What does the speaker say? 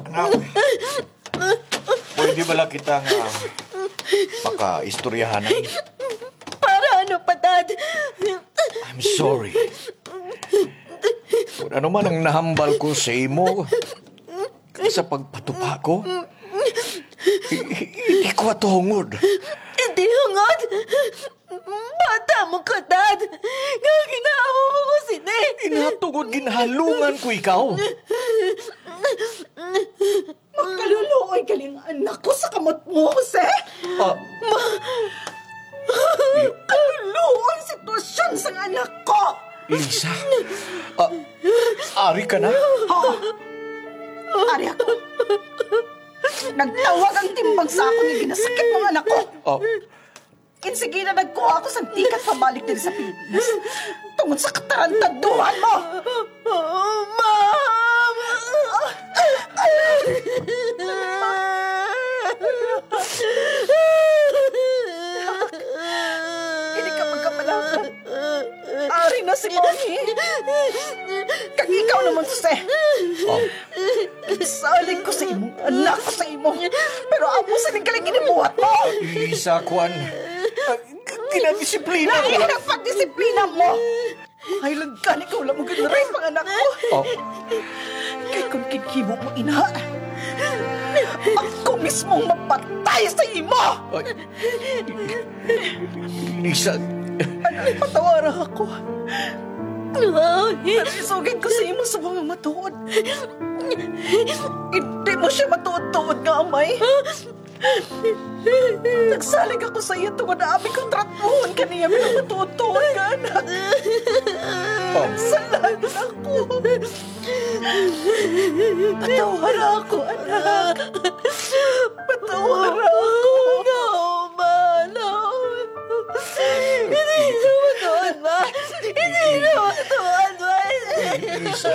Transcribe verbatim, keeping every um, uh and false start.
Anak, pwede bala kita nga makaistoryahan? Para ano pa, Dad? I'm sorry. Kung ano man ang nahambal ko sa imo, kag sa pagpatupa ko, i-, i-, hindi ko atuhungod. Hindi hungod? Bata mo ka, Dad. Nga ginaamo mo ko sini. Ina, tungod ginhalungan ko ikaw. Makaluluoy gali ang anak ko sa kamot mo, Jose. Ah. Ma-, kaluluoy ang sitwasyon sang anak ko. Lisa, ah, ari ka na? Oo. Ari ako. Nagtawag ang timbang sa akon nga ginasakit ng anak ko. Ah. Insigina nagkuha ako sang tikat pabalik diri sa Pilipinas tungod sa katarantaduhan mo. Ma'am! Hindi ka magkapalakan. Ari na si Mommy. Kag ikaw naman, Jose. Oh. Salig ko sa imong anak ko sa imo. Pero amo sini gali ginabuhat mo. Isa, kwan. Ah, ginadisiplina ko lang. Lain ang pagdisiplina mo. Ay, lang gani ka wala mo ginrape ang anak ko. Oh. Kay kung ginhimo mo ina, ako mismo ang mapatay sa imo. Ay. Lisa. Anak, patawara ako. Pero isugid ko sa imo sa mga matuod. Hindi mo siya matuod-tuod nga amay. Nagsalig ako sa iya tungod abi kong tratuhon kaniya bilang matuod-tuod nga anak. Oh. Salamat ako. Patawara ako, anak. Patawara ako. No, ma, no. Hindi ko matuod, ma. Hindi ko matuod, ma. Lisa.